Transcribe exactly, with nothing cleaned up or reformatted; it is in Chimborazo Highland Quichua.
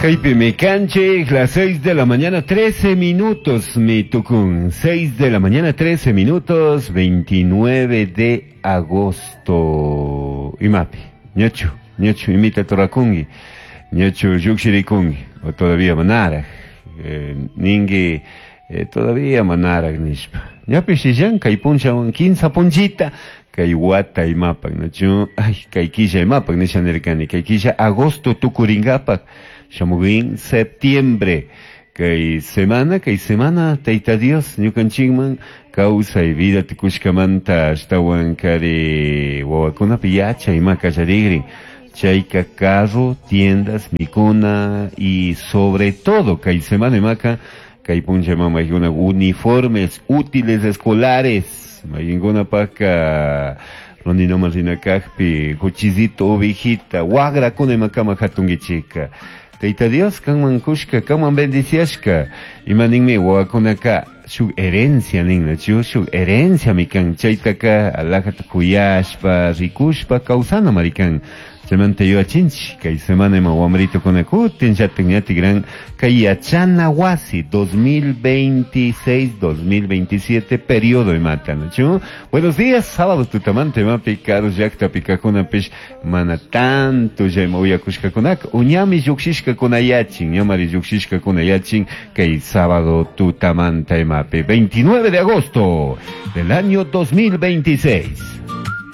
Kaypimi kanchik, las seis de la mañana, trece minutos, mi tukun. seis de la mañana, trece minutos, veintinueve de agosto. Imapi, ñachu, ñachu, imita torakungi, ñachu llukshirikungi, o todavía manaraj, eh, ningi, eh, todavía manaraj nishpa. Ñapish illan, kay punchawan kinsa punchita, kay wata imapak, nachu, ay, kay killa imapak, nisha nirkani, kay killa agosto tukuringapak, shamugin septiembre, kay semana, kay semana, Tayta Dios, ñukanchikman, kawsay vida tukushkamanta, ashtawan kari wawakunapi yachay ima kallarigrin, chayka carro, tiendas, mikuna, y sobre todo, kay semana imaka, kay puncha mamaykuna, uniformes útiles escolares, mayinkunapaka, ronino rinakajpi, cuchillito, ovejita, wagrakuna imakama hatunkichika. Tayta Dios, kanman kushka, kanman bendiciashka. Ima ninmi wawakunaka shuk herencia nin, nachu, shuk herencia mikan, chaytaka alajata kuyashpa, rikushpa, kawsana marikan. Chaymanta yuyachinchik, kay semana ima wamritukuna kutin llatin ñati gran kay yachana wasi dos mil veintiséis, dos mil veintisiete periodo imata, nachu. Buenos días, sábado tutamanta imapi karu llaktapi kakunapish mana tanto ya ima uyakushkakunaka, uñami llukshishkakuna yachin, ñamari llukshishkakuna yachin kay sábado tutamanta imapi, veintinueve de agosto del año dos mil veintiséis.